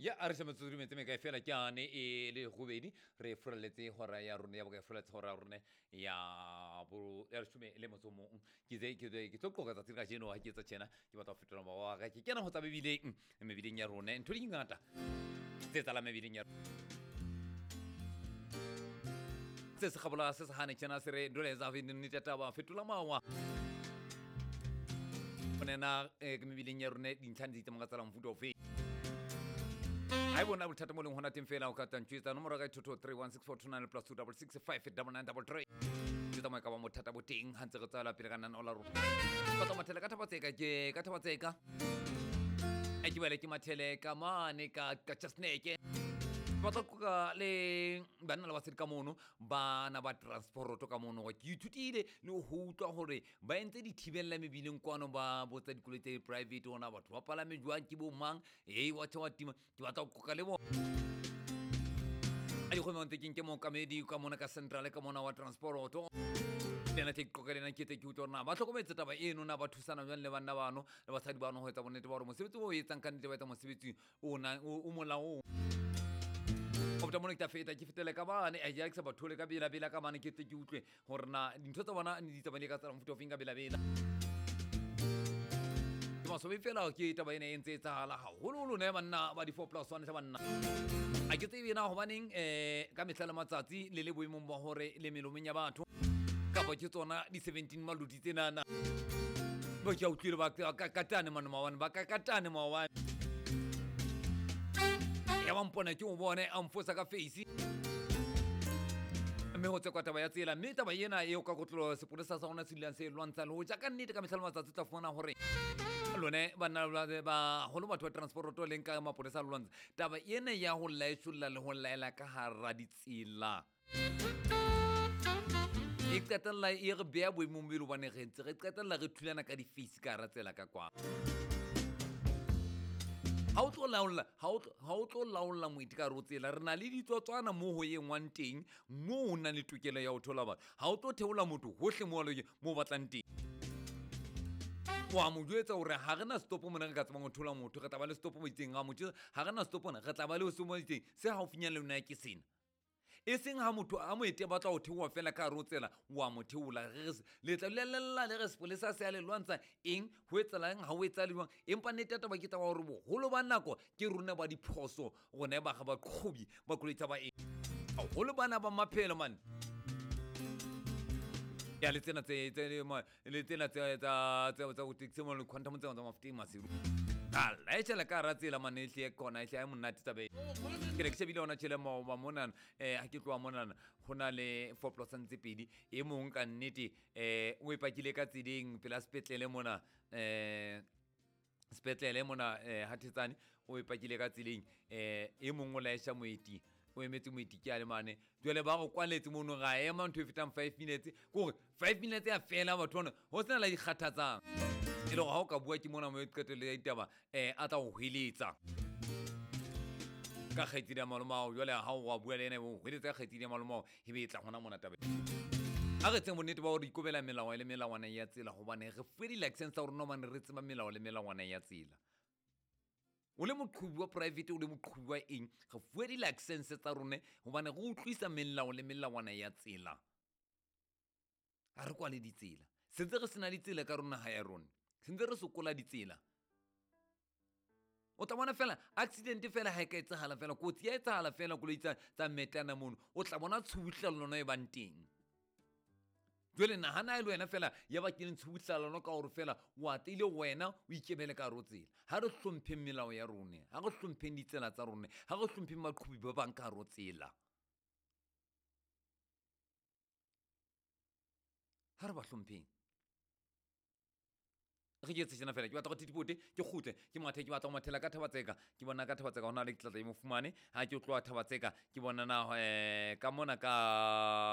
Ya a re se metsotso di metse mekae fela ke ane e le gobedi re furaletse hora ya rona ya bokae furaletse hora ya rona ya bo ya leshome le motso o mong. Ke tse ke ke tlo qoqa tsatsi la kajeno ha ke etsa tjena ke batla ho fetola mowa wa ka ke kena ho tsa mebileng mebileng ya rona ntho di ngata tse etsahalang mebileng ya se se kgabola se se hane tjena se re ndoleza nnete taba fetola mawa go nena ke mebileng ya rona dintlha di tsamaya ka tsela mofuta ofe ha e bona bothata mo leng hona teng fela o ka tantšwetsa nomoro ya ka thotho 316429 plus 2 double 6 5 double 9 double 3 ke tsamaya ka ba bothata bo teng ha ntse re tswela pele ka nana la rona ba tla mathele ka thabatseka ke ka thabatseka e ke bale ke mathele ka mane ka ka chasneke ba tla qoqa le banna le basadi ka mono bana ba transporoto ka mono ke ithutile le ho utlwa hore ba entse dithibella mebileng kwano ba botsa dikoloi tse private ona batho ba palame jwang ke bo mang ee wa thewa tima ke batla ho qoqa le bona a dikgwebong tse keng ke mookamedi ka mona ka central ka mona wa transporoto le ena tle ke qoqa le ena ke tle ke utlwe hore na ba hlokometse taba eno na ba thusana jwang le banna bano le basadi bano ho etsa bonnete ba hore mosebetsi o etsang ka nnete ba etsa mosebetsi o nang o molaong. Go feta mona ke tla feta ke fetele ka bane a ja ke sa ba thole ka bela bela ka bane ke tle ke utlwe gore na dintho tsa bona di tsamaile ka tsela mofuta ofeng ka bela bela. Ke maswabi fela ke taba ena e ntse e etsahala haholoholo ne banna ba di-four plus one tla banna a ke tsebe na hobaneng ka mehla le matsatsi le le boemong ba hore le melomong ya batho kapa ke tsona di-17 malodi tsenana ba ke a utlwile ba kakatane mane maobane ba kakatane maobane ya ba mpona ke o bone a mfosa ka face mme ho tsekwa taba ya tsela mme taba ena eo ka kotlolo sepolesa sa rona se dulang se lwantsha le ho ja ka nnete ka mehla le matsatsi o tla fumana hore lone banna baholo batho ba transporoto leng ka mapolesa a lwantsha taba ena ya ho laetsolla le ho laela ka hara ditsela e qetella e re beya boemong bo e le hobane re ntse re qetella re thulana ka di-face ka hara tsela ka kwa ha o tlo laolla ha o tlo laolla moeti ka hare ho tsela re na le ditsotswana mo ho engwang teng moo o nang le tokelo ya ho thola batho ha o tlo theola motho hohle mo mo batlang teng wa mo jwetsa hore ha re na setopo mona re ka tsebang ho thola motho re tla ba le setopo mo itseng ha motho ha re na setopo mona re tla ba le se mo itseng se haufinyana le lona ke sena e seng ha motho a moeti a batla ho theoha fela ka hare ho tsela wa mo theola le tla dula le lla le re sepolesa se a le lwantsha eng ho etsahalang ha ho etsahale jwang empa nnete ya taba ke taba hore boholo ba nako ke rona ba diphoso rona ba ga baqhobi ba koloi tsa baeng haholo bana ba maphelo mane ya le tsena tse le tsena tse tsa tsa go taxi mo le quantum tsena tsa mafuteng masiru a laetšela ka hara tsela mane ehle kona ehle a monate tabe ke ne ke shebile ona tjhele maoba monana ha ke tloha monana ho na le four plus tse pedi e mong ka nnete o e pakile ka tseleng pela sepetlele mona sepetlele mona ha Thetsane o e pakile ka tseleng e mong o laesha moeti o emetse moeti ke a le mane jwale ba go kwaletse mono ga ema ntho e fetang 5 minutes kore 5 minutes ya fela batho bana ho sena la dikgathatsang e le gore ha o ka bua ke mona mo e qetelo ya ditaba a tla go hweletsa ka kgaitsedi ya malomao jwale ha o wa bua le ena o hweletsa ka kgaitsedi ya malomao e be e tla gona mona tabe a re tseng bonnete ba gore ikobela melao le melawana ya tsela gobane re fuwe di-license tsa rona gobane re tseba melao le melawana ya tsela o le moqhobi wa private o le moqhobi wa eng re fuwe di-license tsa rone gobane re utlwisa melao le melawana ya tsela ga re kwale ditsela sentse re sena ditsela ka rona ga ya rone sentse re sokola ditsela o tla bona fela accident fela ha e ka etsahala fela kotsi ya etsahala fela koloi tsa metana mono o tla bona tshubuhlellano e bang teng jwale nahana e le wena fela ya bakileng tshubuhlellano ka gore fela o atlile wena o ikemele ka hare ho tsela ha re hlompheng melao ya rone ha re hlompheng ditsela tsa rone ha re hlompheng baqhobi ba bang ka hare ho tsela ha re ba hlompheng re ke tsena fela ke batla go thitipote ke kgutle ke mathe ke batla go mathela ka Thabatseka ke bona ka Thabatseka ho na le tlatla e mo fumane ha ke tloha Thabatseka ke bona na ka mona ka